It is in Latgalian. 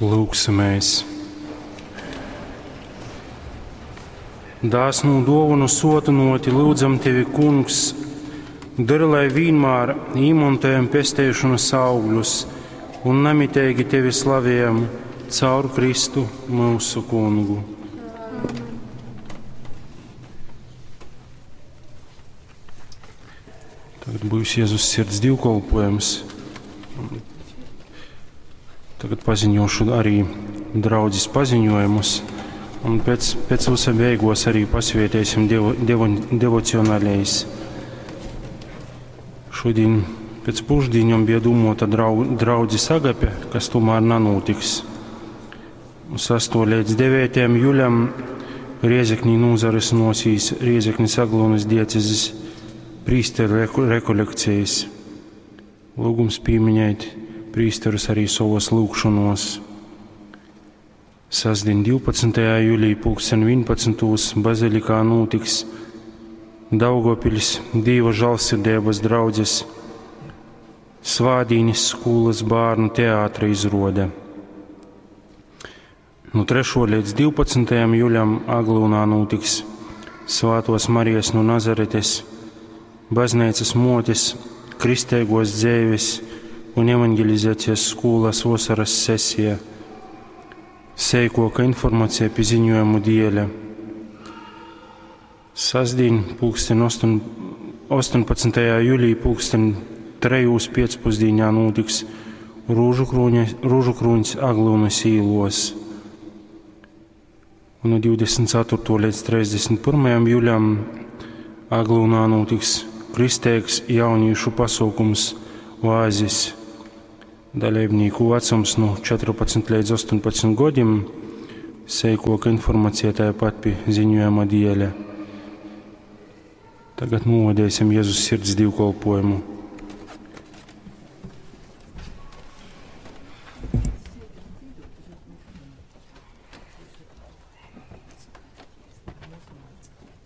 Lūksimies! Dāsnū duovonu suotynuoti lyudzam tevi, Kungs, dori, lai vīnmār īmontojam pesteišonas augļus un namiteigi tevi slavējam caur Kristu myusu Kungu. Tagad būs Jēzus sirds divkolpojums. Tagad paziņošu arī draudzes paziņojumus, un pēc, pēc visa beigos arī pasvietēsim devo, devo, devocionālais. Šodien pēc pušdiņom bija domota drau, draudzes agape, kas tomēr nanotiks. 6. līdz 9. juļam Riezeknī nūzarysynuosīs Riezeknis Aglonas diecezes prīsteru rekolekcijas. Lūgums pīminēt prīsterus arī savos lūgšanos. Sasdien 12. jūlijā pulksten 11. bazilikā notiks Daugavpils Dīva žālsirdības draudzes Svādīnis skolas bērnu teātra izrode. No 3. līdz 12. jūlijam Aglūnā notiks Svātos Marijas no Nazaretes baznīcas motes kristēgos dzēves un evangelizācijas skolas vasaras sesija. Seikoka informācija pie ziņojumu dieļa. Sasdien, pulksten 8, 18. jūlijā, pulksten 3. pēcpusdienā notiks Rūžu krūņs Aglūnas īlos. Un no 24. līdz 31. jūlijam Aglūnā notiks kristēgs jauniešu pasaukums Oāzis. Dalībnieku vecums no 14 līdz 18 gadiem. Seikoka informācija tāpat pie ziņojuma dieļa. Tagad novadīsim Jēzus sirds divkolpojumu.